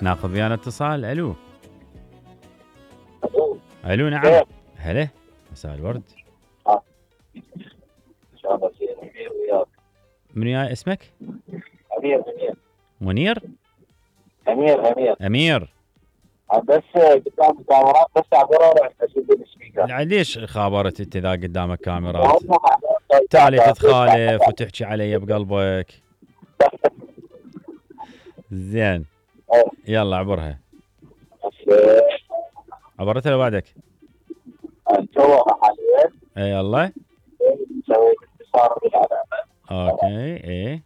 ناخذ ويانا اتصال. الو الو نعم. هلا مساء الورد. ان شاء الله خير. امير وياك. من وياي اسمك؟ امير. منير؟ امير. امير. بس قدام الكاميرات بس عبره راح اشد السبيكر. ليش خابرت انت اذا قدامك كاميرات؟ تالي تتخالف وتحكي علي بقلبك. زين يلا عبرها. عبرتها لو بعدك؟ جوها حاليا. اي يلا سويت اتصال بالعلامه. اوكي. ايه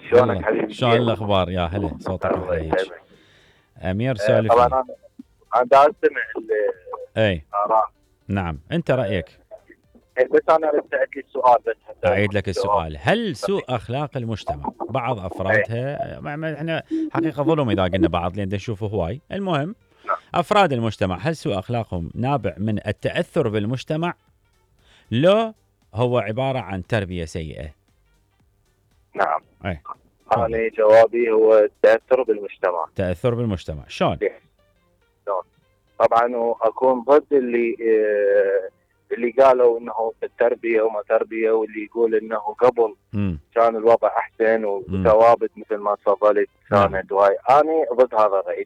شلونك حبيبي؟ شلون الاخبار؟ يا هلا صوتك محلى. امير سولف. طبعا انا دا استمع اي الاراء. نعم انت رايك. بس انا رجعت لي السؤال بس اعيد لك السؤال. هل سوء اخلاق المجتمع بعض افرادها احنا حقيقه ظلم اذا قلنا بعض لان نشوفه هواي. المهم افراد المجتمع هل سوء اخلاقهم نابع من التاثر بالمجتمع لو هو عباره عن تربيه سيئه؟ نعم. اي انا جوابي هو التاثر بالمجتمع. تاثر بالمجتمع شلون؟ طبعا اكون ضد اللي قالوا انه التربيه وما تربيه، واللي يقول انه قبل كان الوضع احسن وثوابت مثل ما تفضلت كانت واي. انا ضد هذا الراي.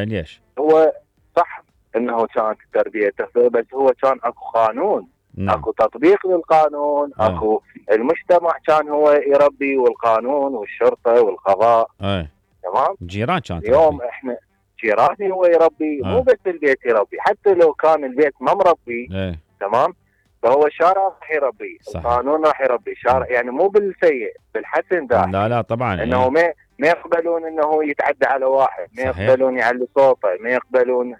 ليش؟ هو صح انه كانت التربيه تفضل، بس هو كان اكو قانون. اكو تطبيق للقانون. اكو المجتمع كان هو يربي، والقانون والشرطه والقضاء. تمام. جيران كانت اليوم تربي. احنا جيراني هو يربي. مو بس البيت يربي، حتى لو كان البيت ما مربي. تمام. فهو الشارع راح يربي. القانون راح يربي الشارع. يعني مو بالسيء، بالحسن ده. لا طبعا. انه ما يقبلون انه يتعدى على واحد. ما يقبلون يعلي صوته. ما يقبلون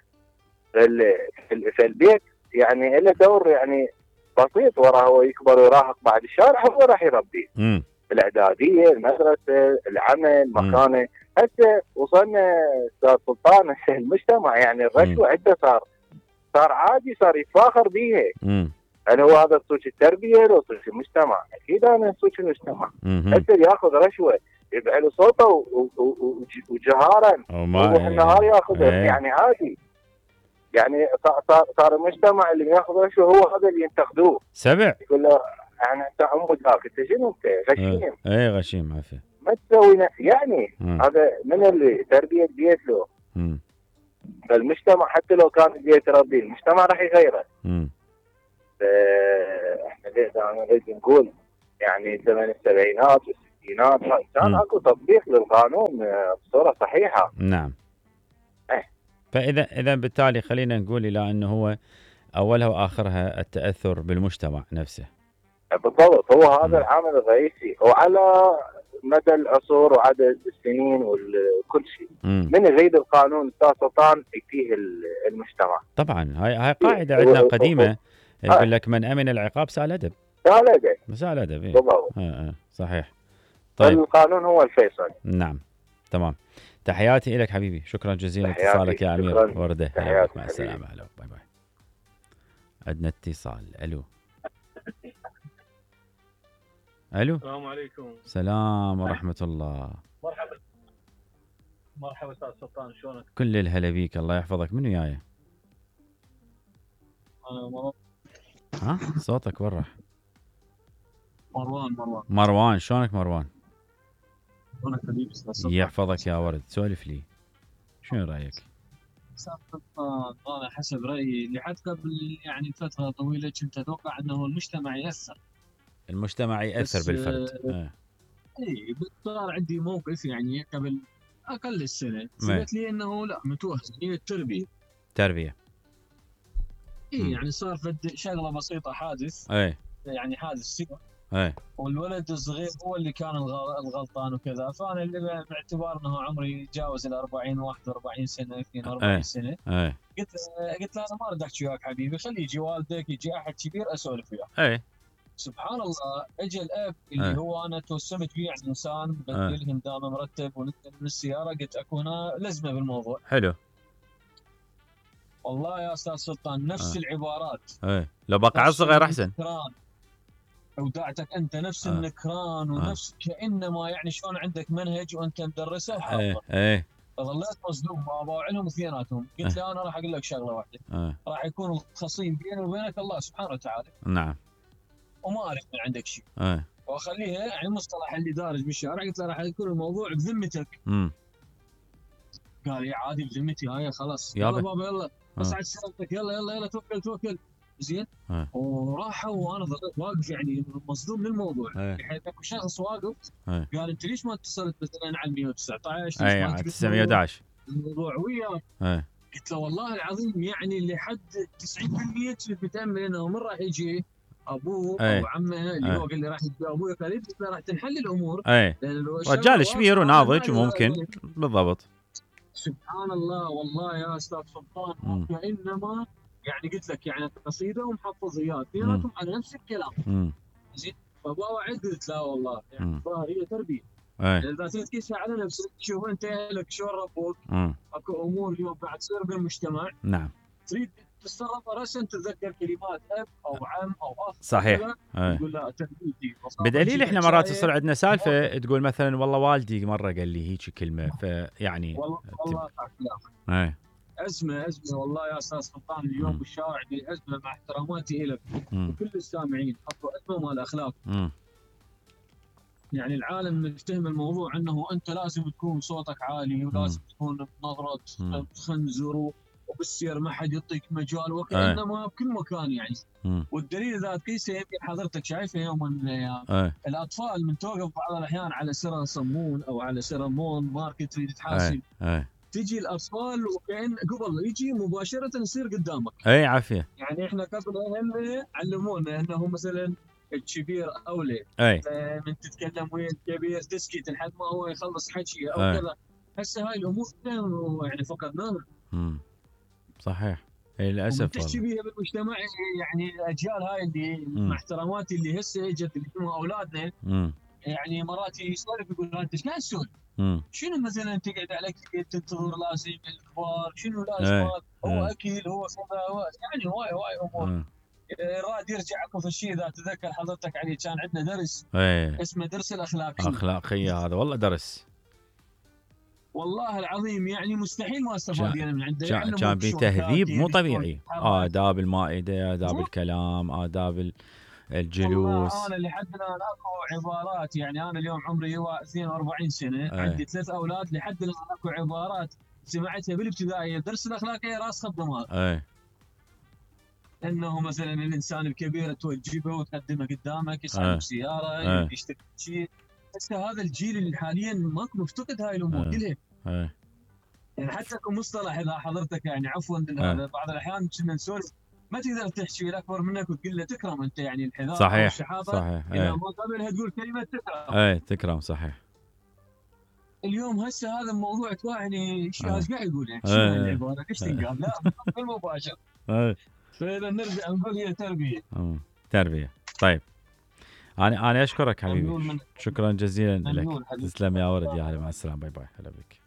في البيت. يعني له دور يعني بسيط. وراه هو يكبر ويراهق بعد الشارع هو راح يربي. الاعداديه، المدرسه، العمل، مكانه. هسه وصلنا استاذ سلطان المجتمع يعني الرشوه عنده صار عادي، صار يتفاخر بيها. هل هو هذا سوق التربيه لو سوق المجتمع؟ اكيد انا سوق المجتمع. هسه ياخذ رشوه يبيع له صوته وجهارا وروح النهار ياخذها. يعني عادي. يعني صار المجتمع اللي ياخذ رشوه هو هذا اللي ينتقدوه. سبع يقول له يعني انت ذاك انت شنو انت غشيم. اي غشيم عافيه. ما تسوي يعني هذا من اللي تربيه بيت له. فالمجتمع حتى لو كان البيت يربيه المجتمع راح يغيره. احنا نريد نقول يعني زمن السبعينات والستينات كان اكو تطبيق للقانون بصوره صحيحه. نعم. فاذا بالتالي خلينا نقول الى انه هو اولها واخرها التاثر بالمجتمع نفسه. بالضبط. هو هذا العامل الرئيسي. وعلى مدى العصور وعدد السنين وكل شيء. من يغيد القانون استاذ سلطان يكفيه المجتمع. طبعا هاي قاعده عندنا قديمه يقول لك من امن العقاب سال ادب. سال ادب. بالضبط. صحيح. طيب القانون هو الفيصل. نعم تمام. تحياتي لك حبيبي. شكرا جزيلا لاتصالك يا امير. ورده. مع السلامه. هلا باي باي. عندنا اتصال. الو السلام عليكم. السلام ورحمه الله. مرحبا استاذ سلطان شلونك؟ كل الهلا بيك. الله يحفظك. من وياي؟ انا صوتك ورح. مروان. شلونك مروان؟ شلونك حبيبي استاذ سلطان؟ يحفظك يا ورد. سولف لي شنو رايك؟ استاذ سلطان انا حسب رايي لحد قبل يعني فتره طويله كنت اتوقع انه المجتمع ياثر بالفرد. اي صار عندي موقف يعني قبل اقل السنه ثبت لي انه لا متوهق. هي التربيه. يعني صار شغله بسيطه حادث. يعني حادث سيارة. والولد الصغير هو اللي كان الغلطان وكذا. فانا اللي باعتبار انه عمري يتجاوز ال 40 41 سنه 42 سنه قلت له انا ما اريد احكي وياك حبيبي، خلي يجي والدك يجي احد كبير اسولف وياه. سبحان الله اجى الاب اللي هو انا توسمت فيه يعني انسان بدلهم دائما مرتب وننزل من السياره. قلت اكو هنا لزمه بالموضوع. حلو والله يا استاذ سلطان نفس العبارات. لو بقى صغير احسن. ودعتك انت نفس النكران ونفس كانما يعني شلون عندك منهج وانت مدرسه وحاضر. ظليت مصدوم ما باوعلهم اثنيناتهم. قلت له انا راح اقول لك شغله واحده، راح يكون الخصيم بيني وبينك الله سبحانه وتعالى. نعم. وما اعرف من عندك شيء. واخليها يعني المصطلح اللي دارج بالشارع. قلت له راح يكون الموضوع بذمتك. قال لي عادي بذمتي هاي خلاص. يلا بابا يلا بس عاد سلامتك، يلا يلا يلا توكل زين. وراحوا وانا ظليت واقف يعني مصدوم من الموضوع. بحيث اكو شخص واقف قال انت ليش ما اتصلت مثلا على 119 اي على 911 الموضوع وياه. قلت له والله العظيم يعني لحد 90% كنت متامل انه من راح يجي ابوه او عمه اللي هو قال لي راح يجي ابوي. قال لي راح تنحل الامور. رجال كبير وناضج وممكن بالضبط. سبحان الله والله يا استاذ سلطان. كانما يعني قلت لك يعني قصيده ومحفظيات اثنيناتهم على نفس الكلام. زين فبوعد قلت لا والله يعني الظاهر هي تربيه. يعني اذا تقيسها على نفسك تشوف انت اهلك شلون ربوك. اكو امور اليوم قاعد تصير بالمجتمع. نعم. تريد تتصرف راسا تتذكر كلمات اب او عم او اخ. صحيح. تقول لا تربيتي. بدليل احنا مرات تصير عندنا سالفه تقول مثلا والله والدي مره قال لي هيك كلمه فيعني والله ازمه والله يا استاذ سلطان. اليوم بالشارع ازمه مع احتراماتي لك وكل السامعين. اكو ازمه مال اخلاق. يعني العالم مفتهم الموضوع انه انت لازم تكون صوتك عالي ولازم تكون بنظره خنزر وبالسير ما حد يعطيك مجال وكانما بكل مكان يعني. والدليل اذا تقيسه يمكن حضرتك شايفه يوم من الايام الاطفال من توقف بعض الاحيان على سر صمون او على سر مول ماركت تريد تحاسب. تجي الاطفال وكأن قبل يجي مباشره يصير قدامك. عافيه. يعني احنا قبل هم علمونا انه مثلا الكبير اولى. من تتكلم ويا الكبير تسكت لحد ما هو يخلص حكي او كذا. هسه هاي الامور يعني فقدناها. صحيح. للاسف تحكي بيها بالمجتمع. يعني الاجيال هاي اللي مع احتراماتي اللي هسه اجت اللي هم اولادنا. يعني مرات يسولف يقول انت ايش قاعد تسولف؟ شنو مثلا تقعد على كيف تنتظر لازم الكبار شنو لازم هو اكل هو كذا يعني هواي امور. راد يرجع اكو في الشيء اذا تذكر حضرتك علي كان عندنا درس اسمه درس الاخلاقيه. هذا والله درس والله العظيم يعني مستحيل ما استفاد يعني من عنده. كان بتهذيب مو طبيعي. آداب المائده، آداب الكلام، آداب الجلوس. انا لحد الان اكو عبارات. يعني انا اليوم عمري 42 سنه. عندي 3 اولاد. لحد الان اكو عبارات سمعتها بالابتدائيه درس الاخلاقيه راسخه بدماغي. انه مثلا الانسان الكبير توجبه وتقدمه قدامك يسحب سياره يشتري شيء. بس هذا الجيل اللي حاليا ماكو مفتقد هاي الامور كلها. يعني حتى اكو مصطلح اذا حضرتك يعني عفوا بعض الاحيان كنا نسولف ما تقدر تحكي الاكبر منك وتقول له تكرم انت. يعني الحذاء صحيح. او الشحاذه صحيح. اذا ما قبلها تقول كلمه تكرم. تكرم صحيح. اليوم هسه هذا الموضوع يعني ايش قاعد يقول يعني شنو العباره ايش تنقال؟ لا بالمباشر. فاذا نرجع نقول هي تربيه. طيب انا اشكرك حبيبي. شكرا جزيلا لك. تسلم يا ولد. يا هلا مع السلامه. باي باي. هلا بك.